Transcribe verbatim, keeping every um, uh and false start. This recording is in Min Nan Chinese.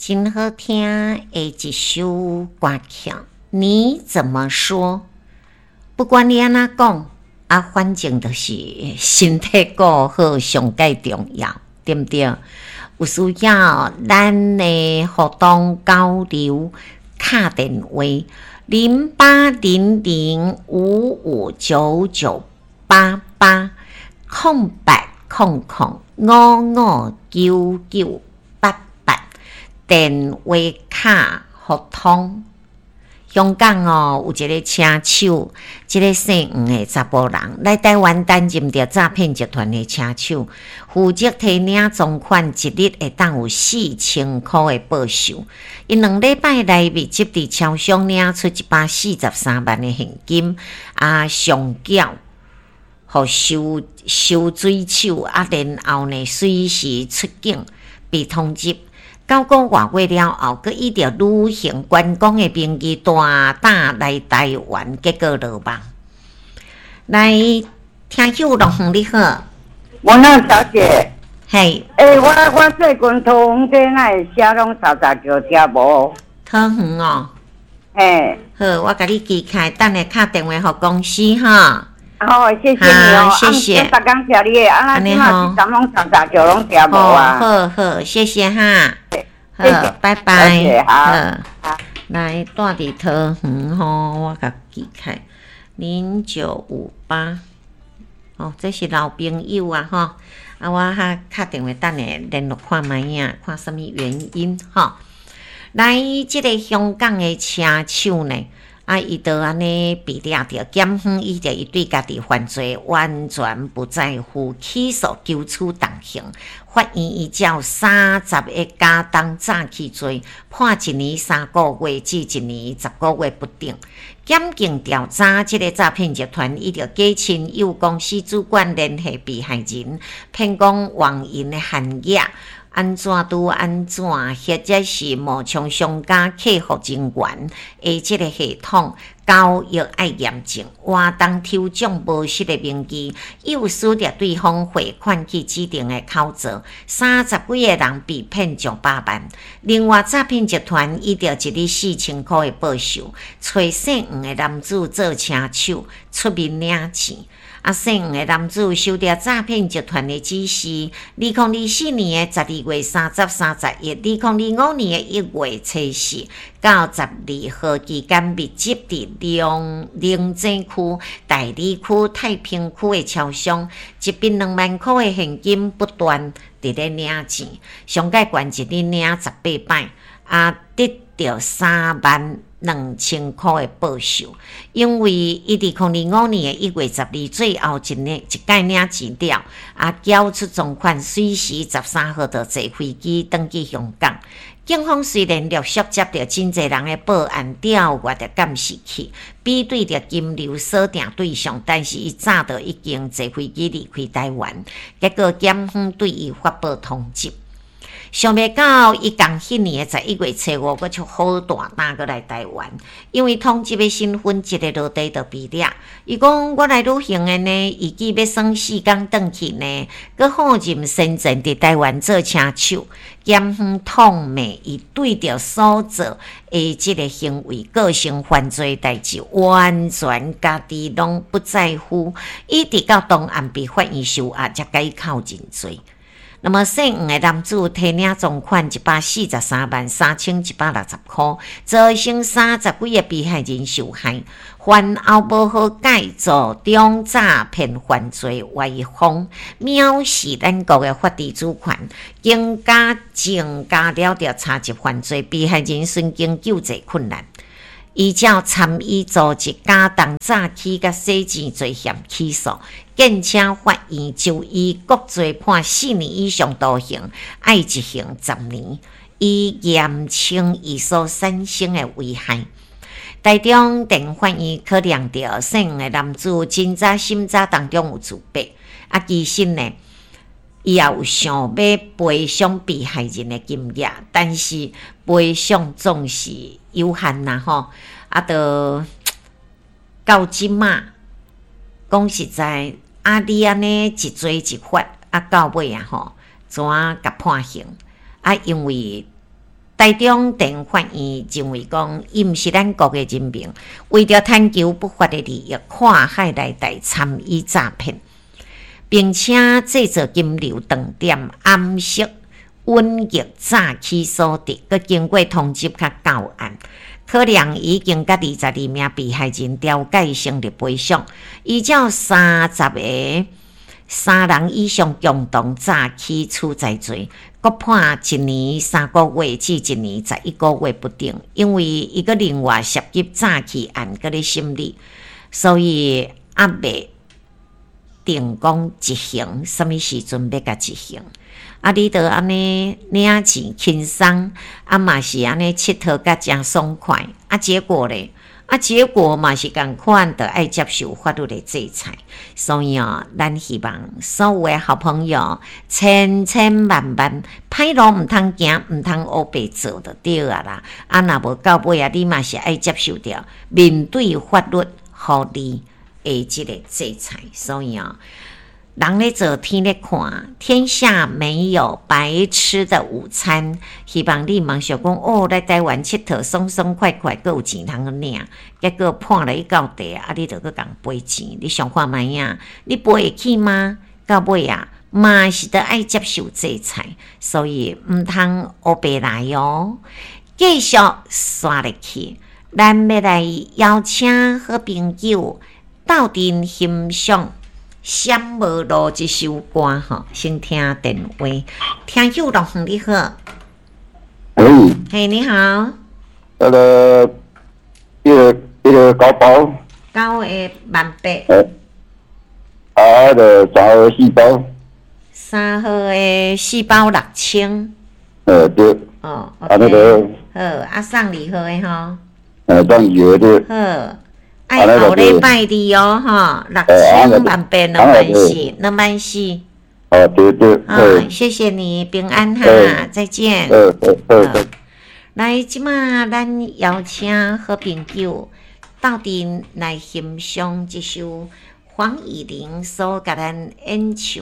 真好聽的一首歌曲。你怎麼說？不管你按怎講，啊，反正就是身體顧好上蓋重要，對毋對？有需要咱的活動交流敲電話零八零零五五九九八八空八空空五五九九八八電話卡互通。香港哦，有一个車手，這个姓黃的查埔人來台灣擔任著詐騙集團的車手，負責提領贓款，一日會當有四千箍的報酬。伊兩禮拜內密集佇超商領出一百四十三萬的現金，啊，上繳予收收水手，啊，然後呢，隨時出境被通緝。九個外月了後，閣以著旅行觀光的名義大膽來台灣，結果落網。來，聽友樂園你好，文樂小姐，嘿，欸，我我最近桃園這哪會寫攏三十橋聽無？桃園哦，嘿，好，我共你記開，等下敲電話予公司哈。好，謝謝你哦，謝謝。啊，逐工聽你的，啊，咱這馬是昨攏三十橋攏聽無啊？好好，謝謝哈。好，拜拜。好，來，住佇桃園吼，我共記開零九五八。哦，這是老朋友啊，吼。啊，我較敲電話等下聯絡看覓仔，看啥物原因吼。來，這个香港的車手呢？啊，伊就按呢被掠著，檢方依著伊對家己犯罪完全不在乎，起訴求處重刑。法院依照三十个加重詐欺罪，判一年三個月至一年十個月不等。檢警調查這个詐騙集團，依著假親友公司主管聯繫被害人，騙講網銀的限額按怎拄按怎，或者是冒充商家客服人員的這个系統交易愛驗證，活動抽獎無實的名義，誘使著對方匯款去指定的口座，三十幾个人被騙上百萬。另外，詐騙集團依著一日四千箍的報酬，揣姓黃的男子做車手出面領錢。啊，姓黃的男子受著詐騙集團的指示，二零二四年的十二月三十、三十一，二零二五年的一月初四到十二號期間，密集佇龍龍井區、大里區、太平區的超商，一筆兩萬箍的現金不斷佇咧領錢，上蓋懸一日領十八擺，啊，得著三萬兩千箍的報酬。因為伊佇二零二五年的一月十二最後一年一擺領錢了，啊，繳出贓款，隨時十三號就坐飛機轉去香港。警方雖然陸續接著真濟人的報案，調閱著監視器，比對著金流鎖定對象，但是伊早就已經坐飛機離開台灣，結果檢方對伊發布通緝。想袂到，伊仝彼年的十一月初五，閣出好大膽閣來台灣，因為通緝的身份一个落地就被掠。伊講我來旅行的呢，預計欲耍四工轉去呢，閣放任先前佇台灣做車手，檢方痛罵伊對著所做的這个行為構成犯罪代誌，完全家己攏不在乎，一直到當案被法院收押，才共伊扣認罪。那麼姓黃的男子提領贓款一百四十三萬三千一百六十箍，造成三十幾个被害人受害，犯後無和解，做中詐騙犯罪歪風，藐視咱國的法治主權，更加增加了著查緝犯罪被害人神經救濟困難。依照參與組織加重詐欺佮洗錢罪嫌起訴，建請法院就伊各罪判四年以上徒刑，愛執行十年，以嚴懲伊所產生的危害。台中地法院考量著姓黃的男子真早審查當中有自白，啊，其實呢，伊也有想欲賠償被害人的金額，但是賠償總是有限啦吼。啊，著到這馬講實在，啊，你按呢一罪一罰，啊，到尾啊吼，怎啊共判刑？啊，因為台中地法院認為講，伊毋是咱國的人民，為著貪求不法的利益，跨海來台參與詐騙，並且製造金流斷點，掩飾隱匿詐欺所得，閣經過通緝較到案，可能已經佮二十二名被害人調解成立賠償，依照三十个三人以上共同詐欺取財罪，閣判一年三個月至一年十一個月不等。因為伊閣另外涉及詐欺案閣咧審理，所以猶未定講執行，啥物時陣欲共執行。啊！你著按呢領錢輕鬆，啊嘛是按呢𨑨迌甲誠爽快，啊結果咧，啊結果嘛是仝款，著愛接受法律的制裁。所以哦，咱希望所有的好朋友，千千萬萬歹路毋通行，毋通烏白做就對啊啦。啊，若無到尾啊，你嘛是愛接受著面對法律予你的這个制裁。所以哦，人咧做，天咧看，天下沒有白吃的午餐。希望你毋想講哦，來台灣𨑨迌爽爽快快，閣有錢通領，結果判予你到地，啊，你著閣共賠錢。你想看覓啊？你賠會起嗎？到尾啊，嘛是著愛接受制裁，所以毋通烏白來哦。繼續煞落去，咱欲來邀請好朋友鬥陣欣賞《閃無路》這首歌吼，先聽電話。聽友樂你好，喂，嘿，你好。那個，一個一個九包，九個萬八。啊，就三號四包，三號的四包六千。呃，對。哦，啊那個，好，啊送二號的吼。呃，送二號對。好。愛後禮拜二哦，吼，六千萬八兩萬四，兩萬四。哦，對對。啊，謝謝你，平安哈，再見。嗯嗯嗯。來，這馬咱邀請好朋友鬥陣來欣賞這首黃乙玲所共咱演唱。